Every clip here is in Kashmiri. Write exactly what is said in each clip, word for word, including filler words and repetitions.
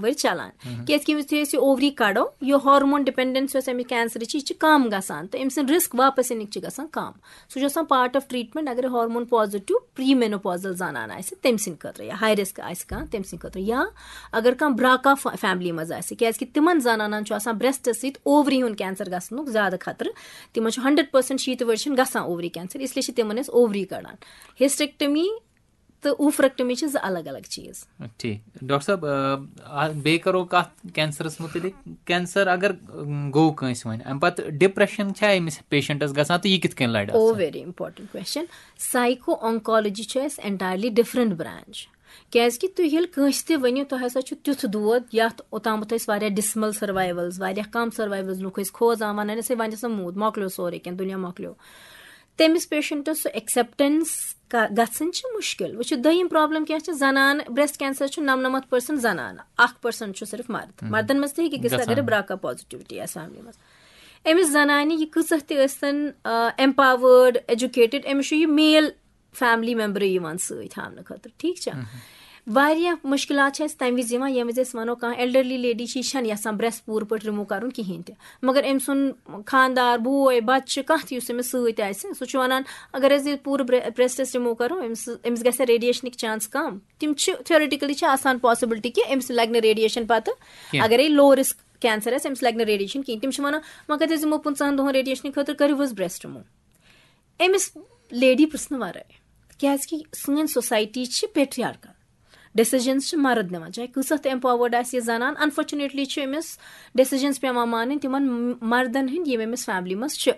ؤری چلان۔ کیازِ کہِ ییٚمِس یُتھُے أسۍ یہِ اووری کڑو، یہِ ہارمون ڈِپینڈنس یۄس اَمہِ کینسرٕچ چھِ، یہِ چھِ کم گژھان تہٕ أمۍ سٕنٛز رسک واپس یِنٕچ چھِ گژھان کم۔ سُہ چھُ آسان پارٹ آف ٹریٹمنٹ۔ اگر ہارمون پازیٹیو پری مینوپازل زنان آسہِ، تٔمۍ سٕنٛدِ خٲطرٕ، یا ہائی رسک آسہِ کانٛہہ، تٔمۍ سٕنٛدِ خٲطرٕ، یا اگر کانٛہہ براکا فیملی منٛز آسہِ، کیازِ کہِ تِمن زنانن چھُ آسان بریسٹس سۭتۍ اووری ہُنٛد کینسر گژھنُک زیادٕ خطرٕ۔ تِمن چھُ ہنڈریڈ پرسنٹ، شیٖتھ ؤری چھِنہٕ گژھان اووری کینسر، اس لیے چھِ تِمن أسۍ اووری کڑان۔ ہسٹریکٹمی تہٕ اوفریکٹمی چھِ زٕ الگ الگ چیٖز۔ ٹھیٖک۔ ڈاکٹر صٲب، آ، آ، بیٚیہِ کرو کتھ کینسرس مُتعلق۔ کینسر اگر، ام، گوٚو کٲنٛسہِ وۄنۍ، امہِ پتہٕ ڈپریشن چھا أمِس پیشنٹس گژھان تہٕ یہِ کِتھ کٔنۍ لڑِ اتھ او سۭتۍ؟ ویری امپورٹنٹ کوسچن۔ سایکو آنکالوجی چھِ اَسہِ انٹائرلی ڈفرنٹ برانچ۔ کیازِ کہِ تُہۍ ییٚلہِ کٲنٛسہِ تہِ ؤنِو، تۄہہِ ہسا چھُ تیُتھ دود، یتھ اوٚتامَتھ ٲسۍ واریاہ ڈسمل سروائیولز، واریاہ کم سروائیولز، لُکھ ٲسۍ کھوژان، ونان ٲسۍ، "ہے، وۄنۍ چھِ آسان موٗد، مۄکلیو سورُے کینٛہہ، دُنیا مۄکلیو۔" تٔمِس پیشنٹس سُہ ایکسیپٹنس گژھٕنۍ چھِ مشکل۔ وٕچھِو، دوٚیِم پرابلم کیٛاہ چھِ؟ زنان، بریسٹ کینسر چھُ نَمنَمَتھ پٔرسنٹ زنان، اکھ پٔرسنٹ چھُ صرف مرد۔ مردن منٛز تہِ ہیٚکہِ گٔژھِتھ، اگر براکا پازیٹیوٹی آسہِ فیملی منٛز۔ أمِس زنانہِ، یہِ کۭژاہ تہِ ٲسۍ تن ایمپاورڈ، ایجوکیٹڈ، أمِس چھُ یہِ میل فیملی ممبرٕے یِوان سۭتۍ ہاونہٕ خٲطرٕ، ٹھیٖک چھا؟ واریاہ مُشکِلات چھِ اَسہِ تَمہِ وِزِ یِوان، ییٚمہِ وِزِ أسۍ وَنو، کانٛہہ ایلڈرلی لیڈی چھِ، یہِ چھَنہٕ یَژھان برٛیس پوٗرٕ پٲٹھۍ رِموٗ کَرُن کِہیٖنۍ تہِ، مگر أمۍ سُنٛد خانٛدار، بوے، بَچہٕ، کانٛہہ تہِ یُس أمِس سۭتۍ آسہِ، سُہ چھُ وَنان، اگر أسۍ یہِ پوٗرٕ برٛے-، برٛیسٹَس رِموٗ کَرو، أمِس، أمِس گژھِ ریڈیشنٕکۍ چانس کَم۔ تِم چھِ، تھیوریٹیکلی چھِ آسان پاسبلٹی کہِ أمِس لَگہِ نہٕ ریڈیشن پَتہٕ، کینٛہہ۔ اگرے لو رسک کینسر آسہِ، أمِس لَگہِ نہٕ ریڈیشن کِہیٖنۍ۔ تِم چھِ وَنان، وۄنۍ کَتہِ أسۍ دِمو پٕنٛژٕہَن دۄہَن ریڈیشنہٕ خٲطرٕ، کٔرِو حظ برٛیسٹ رِموٗ۔ أمِس لیڈی پرٛژھنہٕ ورٲے، کیازِ کہِ سٲنۍ سوسایٹی چھِ پیٹریارکل، ڈیسیجنز چھِ مرد نِوان، چاہے کۭژاہ تہِ ایمپاورڈ آسہِ یہِ زنان، انفارچونیٹلی چھِ أمِس ڈیسیجنز پیوان مانٕنۍ تِمن مردن ہٕنٛدۍ، یِم أمِس فیملی منٛز چھِ۔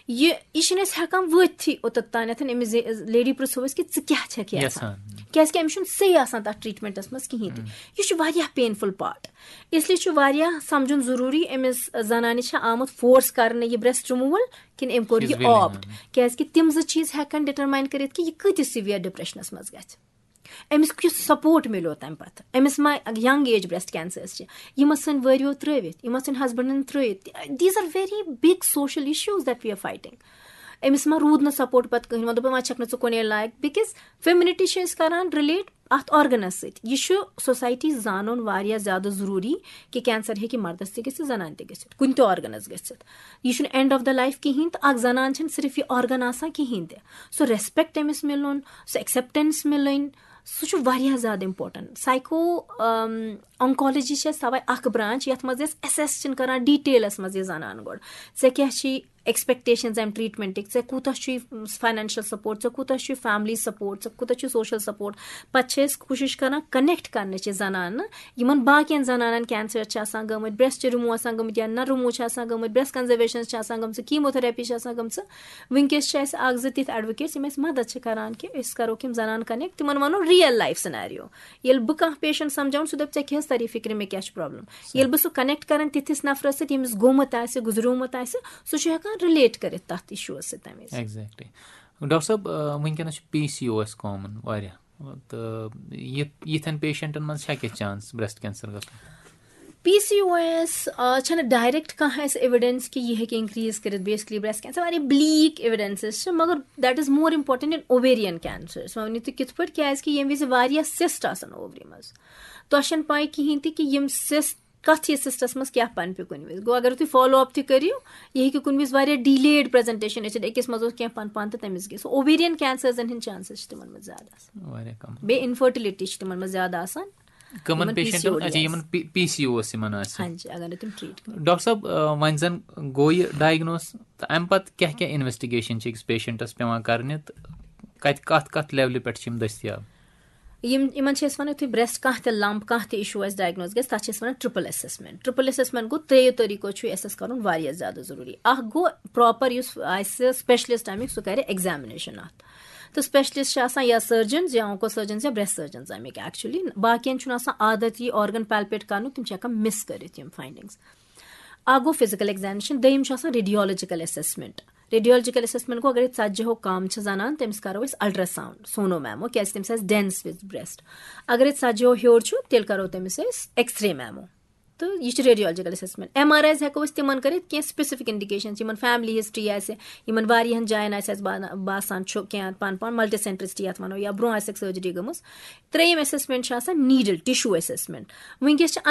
یہِ، یہِ چھِنہٕ أسۍ ہٮ۪کان وٲتتھٕے اوٚتَتھ تانٮ۪تھ أمِس زِ-، لیڈی پرٛژھو أسۍ کہِ ژٕ کیٛاہ چھَکھ یَژھان؟ یَژھان۔ کیازِ کہِ أمِس چھُنہٕ صحیح آسان تَتھ ٹریٹمنٹَس منٛز کِہیٖنۍ تہِ۔ یہِ چھُ واریاہ پینفُل پارٹ۔ اس لیے چھُ واریاہ سمجھُن ضروٗری، أمِس زنانہِ چھا آمُت فورس کرنہٕ یہِ برٛیسٹ رِموٗول، کِنہٕ أمۍ کوٚر She's یہِ willing، آپٹ؟ کیازِ کہِ تِم زٕ چیٖز ہٮ۪کن ڈِٹرماین کٔرِتھ کہِ یہِ کۭتِس سِویئر ڈپریشنس منٛز گژھِ، أمِس کیُتھ سپورٹ مِلیو تمہِ پتہٕ، أمِس ما ینگ ایج برٛیسٹ کینسرس چھِ، یِم ٲسۍ سٲنۍ وٲرِو ترٲوِتھ، یِم ٲسۍ سٲنۍ ہسبنڈن ترٲوِتھ۔ These are very big social issues that we are fighting. أمِس ما روٗد نہٕ سپورٹ پتہٕ کٕہٕنۍ، وۄنۍ دوٚپُن، وۄنۍ چھکھ نہٕ ژٕ کُنے لایق، بِکاز فیمنٹی چھِ أسۍ کران رِلیٹ اتھ آرگنس سۭتۍ۔ یہِ چھُ سوسایٹی زانُن واریاہ زیادٕ ضروٗری کہِ کینسر ہیٚکہِ مردس تہِ گٔژھِتھ، زنانہِ تہِ گٔژھِتھ، کُنہِ تہِ آرگنس گٔژھِتھ۔ یہِ چھُنہٕ اینڈ آف دا لایف کِہینۍ، تہٕ اکھ زنان چھَنہٕ صرف یہِ آرگن آسان کِہینۍ تہِ۔ سُہ ریسپیکٹ أمِس مِلُن، سُہ ایکسیپٹنس مِلٕنۍ، سُہ چھُ واریاہ زیادٕ امپورٹنٹ۔ سایکو آنکالوجی چھِ اَسہِ تَوَے اکھ برانچ، یَتھ منٛز أسۍ ایسیس چھِنہٕ کران ڈیٹیلس منٛز یہِ زنان گۄڈٕ، ژےٚ کیٛاہ چھِ ایکسپیکٹیشنز امہِ ٹریٹمنٹٕکۍ، ژےٚ کوٗتاہ چھُے فاینانشل سپورٹ، ژےٚ کوٗتاہ چھُے فیملی سپورٹ، ژےٚ کوٗتاہ چھُے سوشل سپورٹ۔ پتہٕ چھِ أسۍ کوٗشش کران کنیکٹ کرنٕچ یہِ زنانہٕ یِمن باقین زنانن، کینسر چھِ آسان گٔمٕتۍ، برٛیسٹ رِموٗ آسان گٔمٕتۍ یا نہ رِموٗ چھِ آسان گٔمٕتۍ، برٛیسٹ کنزرویشنز چھِ آسان گٔمژٕ، کیموتھراپی چھِ آسان گٔمژٕ۔ وٕنکیٚس چھِ اَسہِ اکھ زٕ تِتھۍ ایڈوکیٹس یِم اَسہِ مدد چھِ کران کہِ أسۍ کرو کِم زنانہٕ کنیکٹ، تِمن ونو ریئل لایف سینیریو۔ ییٚلہِ بہٕ کانٛہہ پیشنٹ سمجھاوُن، سُہ دَپہِ، "ژےٚ کیٛاہ حظ تَری فِکرِ، مےٚ کیٛاہ چھُ پرابلم؟" ییٚلہِ بہٕ سُہ کنیکٹ کران تِتھِس نفرس سۭتۍ، ییٚمِس گوٚمُت آسہِ، گُزریومُت آسہِ، سُہ چھُ ہٮ۪کان رِلیٹ کٔرِتھ تَتھ اِشوٗوَس سۭتۍ تَمہِ وِزِ۔ ایگزیکٹلی۔ ڈاکٹر صٲب، آ، وٕنکیٚنَس چھُ P C O S common واریاہ، تہٕ یہِ، یِتھٮ۪ن پیشنٹن منٛز چھا کینٛہہ چانس برٛیسٹ کینسر گژھُن؟ پی سی او ایس چھنہٕ ڈائریکٹ کانٛہہ اَسہِ ایویڈنس کہِ یہِ ہیٚکہِ انکریز کٔرِتھ بیسکلی برٛیسٹ کینسر۔ واریاہ بلیک ایویڈنسز چھِ، مگر that is more important in ovarian cancer۔ سُہ ؤنِو تُہۍ کِتھ پٲٹھۍ؟ کیازِ کہِ ییٚمہِ وِزِ واریاہ سِسٹ آسان اووری منٛز، تۄہہِ چھَنہٕ پاے کِہینۍ تہِ کہِ یِم سِسٹ کَتھ یہِ سِسٹَس منٛز کیٛاہ پَنپہِ کُنہِ وِزِ۔ گوٚو، اگر تُہۍ فالو اپ تہِ کٔرِو، یہِ ہیٚکہِ کُنہِ وِزِ واریاہ ڈِلیڈ پریزنٹیشن ٲسِتھ، أکِس منٛز اوس کینٛہہ پَن پَن تہٕ تٔمِس گٔے سُہ۔ اوویرین کینسرزن ہٕنٛدۍ چانسز چھِ تِمن منٛز زیادٕ آسان، واریاہ کم۔ بیٚیہِ انفرٹیلٹی چھِ تِمن منٛز زیادٕ آسان۔ کٕمن یِمن پیشنٹن، پی سی او ڈی اچھا، آسہِ۔ یِمن پی سی او یِمن آسہِ۔ ہاں جی، اگر نہٕ تِم ٹریٹ کٔرِو۔ ڈاکٹر صٲب، آ، وۄنۍ زن گوٚو یہِ ڈائگنوز، تہٕ امہِ پتہٕ کیٛاہ کیٛاہ انویسٹیگیشن چھِ أکِس پیشنٹس پٮ۪وان کرنہِ، تہٕ کتہِ، کتھ کتھ لیولہِ پٮ۪ٹھ چھِ یِم دٔستیاب؟ یِم، یِمن چھِ أسۍ ونان، یُتھُے برٛیسٹ کانٛہہ تہِ لمپ، کانٛہہ تہِ اِشوٗ آسہِ ڈائگنوز گژھِ، تتھ چھِ أسۍ ونان ٹرپل اسیسمنٹ۔ ٹرپل اسیسمنٹ گوٚو، ترٛیٚیو طریٖقو چھُ اسیس کرُن واریاہ زیادٕ ضروٗری۔ اکھ گوٚو پراپر یُس آسہِ اسپیشلسٹ امیُک، سُہ کرِ ایگزامنیشن اتھ۔ تہٕ اسپیشلسٹ چھِ آسان یا سرجنز یا آنکو سرجنز یا برٛیسٹ سرجنز امیِکۍ ایکچولی۔ باقین چھُنہٕ آسان عادت یہِ آرگن پیلپیٹ کرنُک، تِم چھِ ہٮ۪کان مِس کٔرِتھ یِم فاینڈنگز۔ اکھ گوٚو فزیکل ایگزامنیشن، دوٚیِم چھُ آسان ریڈیولوجیکل اسیسمنٹ۔ ریڈیولوجیکل اسیسمنٹ گوٚو، اگر ژتجی ہو کم چھِ زنان، تٔمِس کرو أسۍ الٹرا ساؤنڈ، سونو میمو، کیازِ تٔمِس آسہِ ڈینس وِتھ برٛیسٹ۔ اگر ژتجی ہو ہیوٚر چھُ، تیٚلہِ کرو تٔمِس أسۍ ایکس رے میمو۔ تہٕ یہِ چھِ ریڈیولجیکل اسیسمنٹ۔ ایم آر آیز ہٮ۪کو أسۍ تِمن کٔرِتھ، کینٛہہ سپیسفک انڈیکیشنز، یِمن فیملی ہسٹری آسہِ، یِمن واریاہن جاین آسہِ اَسہِ باسان چھُ کینٛہہ پانہٕ پانہٕ ملٹی سینٹرسٹی یَتھ وَنو، یا برونٛہہ آسٮ۪کھ سرجری گٔمٕژ۔ ترٛیٚیِم اسیسمنٹ چھِ آسان نیٖڈل ٹِشوٗ اسیسمنٹ۔ وٕنکیٚس چھِ